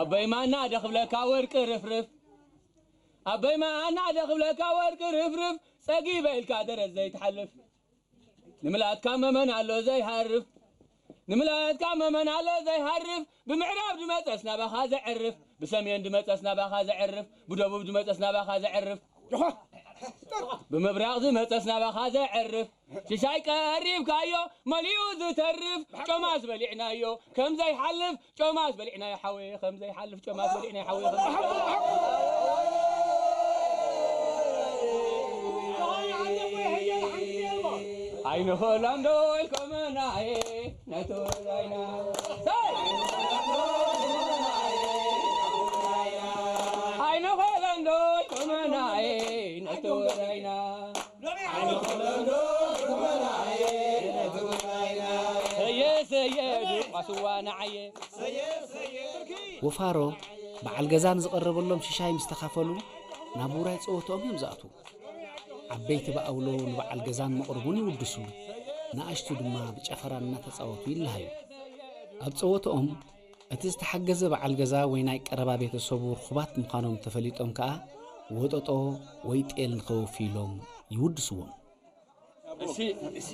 ኣበይ ማና ደኽብለካ ወርቂ ርፍርፍ ኣበይ ማና ደኽብለካ ወርቂ ርፍርፍ ጸጊበ ኢልካ ደረት ዘይትሓልፍ ንምላትካ መመን ኣሎ ዘይሃርፍ ንምላትካ መመን ኣሎ ዘይሃርፍ ብምዕራብ ድመጸስ ናባኻ ዘዕርፍ ብሰሜን ድመጸስ ናባኻ ዘዕርፍ ብደቡብ ድመጸስ ናባኻ ዘዕርፍ ብምብራቕ ዝመጸስ ናባኻ ዘዕርፍ ሽሻይ ቀሪብካዮ መሊኡ ዝተርፍ ጮማስ በሊዕናዮ ከም ዘይሓልፍ ጮማስ በሊዕናዮ ሓወየ ከም ዘይሓልፍ ጮማስ በሊዕናዮ ሓወየ ከም ዘይሓልፍ ኣይንኽእሎን ዶ ኢልኩምናየ ነቲ ወዳይና ኣይንኽእሎን ዶ ኢልኩምናየ ነቲ ወዳይና ሰየ ሰየ ድቋስዋ ንዓየ ወፋሮ በዓል ገዛ ንዝቐረበሎም ሽሻይ ምስ ተኻፈሉ ናብ ውራይ ጸወትኦም እዮም ዝኣትዉ። ዓበይቲ ብኣውሎ ንበዓል ገዛን መቕርቡን ይውድሱ፣ ንኣሽቱ ድማ ብጨፈራ እናተጻወቱ ይለሃዩ። ኣብ ጸወትኦም እቲ ዝተሓገዘ በዓል ገዛ ወይ ናይ ቀረባ ቤተሰቡ ርኹባት ምዃኖም ተፈሊጦም ከኣ ወጠጦ ወይ ጤል ንኸወፊ ኢሎም ይውድስዎም። እሺ እሺ